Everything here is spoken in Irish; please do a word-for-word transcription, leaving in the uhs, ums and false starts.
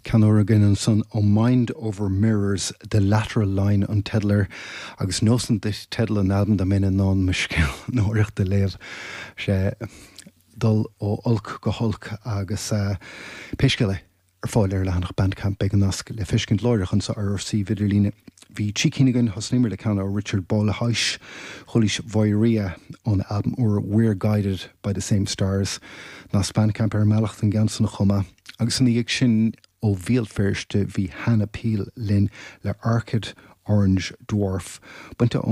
Ceann úr againn ansan ó Mind Over Mirrors The Lateral Line an teideal air agus neosfainn duit teideal an albaim dá mbeinn in ann mo scríbhneoireacht a léamh sé dul ó olc go holc agus uh, pé scéal é ar fáil ar leathanach Bandcamp beidh an nasc le feiscint láithreach anso ar ár suíomh idirlín. Bhí trí cinn againn thosnaíomar le ceann ó Richard Bolhuis Chulis Voiria ón albam úr We're Guided by the Same Stars nasc Bandcamp ar mbealach an gceann san chomh maith agus ina dhiaidh sin ó Bhéal Feirste bhí Hannah Peel linn le Arcade Orange Dwarf. Bainte